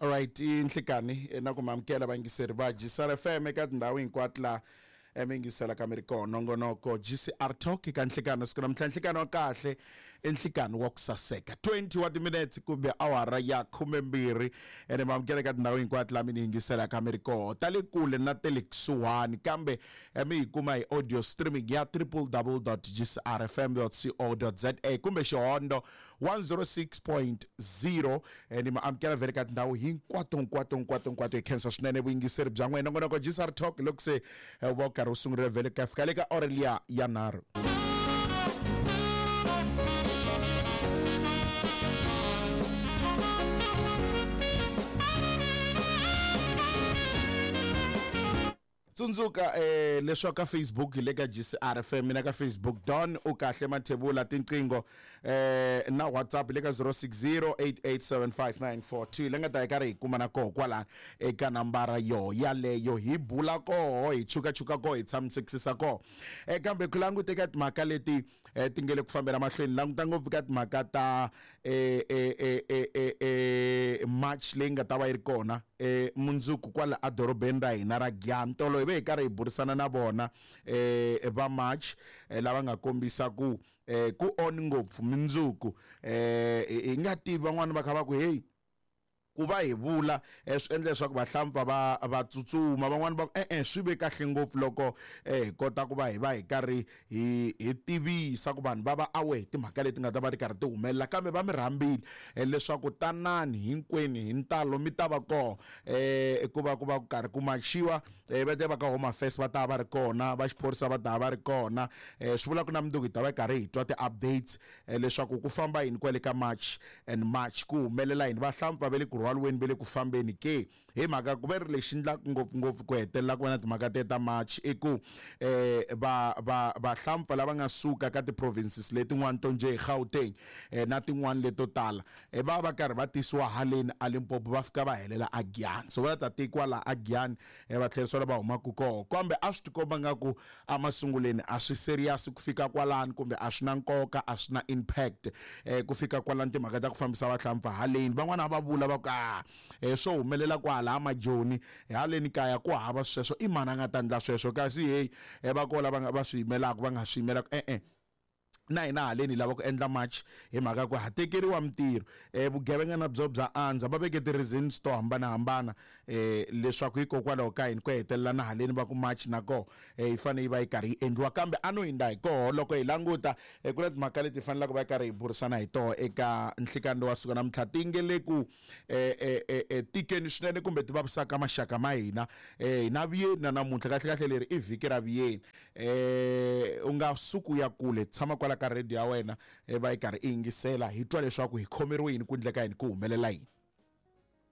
Alright, i nhlikani na ku mi amukela vayingiseri va GCR FM eka tindhawu hinkwato laha mi yingiselaka mi ri kona nongonoko GCR Talk eka nhlikani siku namuntlha. Nhlikani wa kahle i nhlikani wa ku saseka, 20 wa timinetse kumbe awara ya 12, ene mi amukela eka tindhawu hinkwato laha mi ni yingiselaka mi ri kona, ta le kule na ta le kusuhani, kambe mi hi kuma hi audio streaming ya www.gcrfm.co.za kumbe xihondo 106.0. Ni mi amukela vhele ka tindhawu hinkwato hinkwato hinkwato hinkwato. Hi khensa swinene vuyingiseri bya n'wina. Nongonoko GCR Talk loko se va wu karhi wu sungurile vhele ku ya fika le ka aurelia ya 3. Tsundzuka leswaku ka Facebook hi le ka GCR FM, mina ka Facebook Don u kahle Mathebula, tinqingho na WhatsApp le ka 0608875942 le nga ta hi karhi hi kuma na koho kwalano eka nambara yo yaleyo, hi bula koho, hi chukachuka koho, hi tshamisekisisa koho. Kambe ku languta eka timhaka leti ti nge le ku fambela mahlweni, languta ngopfu ka timhaka ta march leyi nga ta va yi ri kona mundzuku kwala edorobeni ra hina ra Giyani. Tolo hi ve hi karhi hi burisana na vona va march lava nga kombisa ku ku on ngopfu mundzuku. Hi nga tivi van'wani va kha va ku hey, ku va hi vula swi endla leswaku vahlampfa va va tsutsuma, van'wani va ku e-e, swi ve kahle ngopfu loko hi kota ku va hi va hi karhi hi hi tivisa ku vanhu va va aware hi timhaka leti nga ta va ti karhi ti humelela. Kambe va mi rhambile leswaku tanani hinkwenu hi ntalo mi ta va kona ku va ku va ku karhi ku machiwa. Va te va ka Home Affairs va ta va ri kona, va xiphorisa va ta va ri kona. Swi vula ku na mundzuku hi ta va hi karhi hi twa ti-updates leswaku ku famba yini kwale ka March and March, ku humelela yini, vahlampfa va le ku rhwaliweni, va le ku fambeni ke. Hi mhaka ku ve ri lexi endlaka ngopfungopfu ku hetelela ku va na timhaka te ta March i ku va va vahlampfa lava nga suka ka ti-provinces letin'wana to njhe hi Gauteng na tin'wana leto tala va va karhi va tisiwa haleni a Limpopo, va fika va helela a Giyani, so va ta tekiwa laha a Giyani va tlherisiwa la va humaka koho. Kambe a swi tikomba nga ku emasunguleni a swi serious ku fika kwalani, kumbe a swi na nkoka, a swi na impact ku fika kwalani timhaka ta ku fambisa vahlampfa haleni. Van'wana a va vula va ku a swo humelela kwala majoni, haleni kaya ku hava sweswo, i mani a nga ta endla sweswo? Kasi hey, va koho lava va swi yimelaka, va nga swi yimelaka e-e, na hina haleni hi lava ku endla march hi mhaka ku ha tekeriwa mintirho, vugevenga na byo bya andza. Va veke ti-reasons to hambanahambana leswaku hikokwalaho ka yini ku hetelela na haleni va ku march na koho yi fanele yi va yi karhi yi endliwa. Kambe a no hindza hi koho, loko hi languta ku na timhaka leti hi fanelaka va yi karhi hi burisana hi toho eka nhlikani lowa siku namuntlha, ti nge le ku tikeni swinene kumbe ti vavisaka maxaka ma hina. Hi na vuyeni na namuntlha, kahle kahle leri i vhiki ra vuyeni. U nga suki u ya kule, tshama kwala ka radio ya wena va yi karhi i yingisela, hi twa leswaku hi khomeriwe yini, ku endleka yini, ku humelela yini.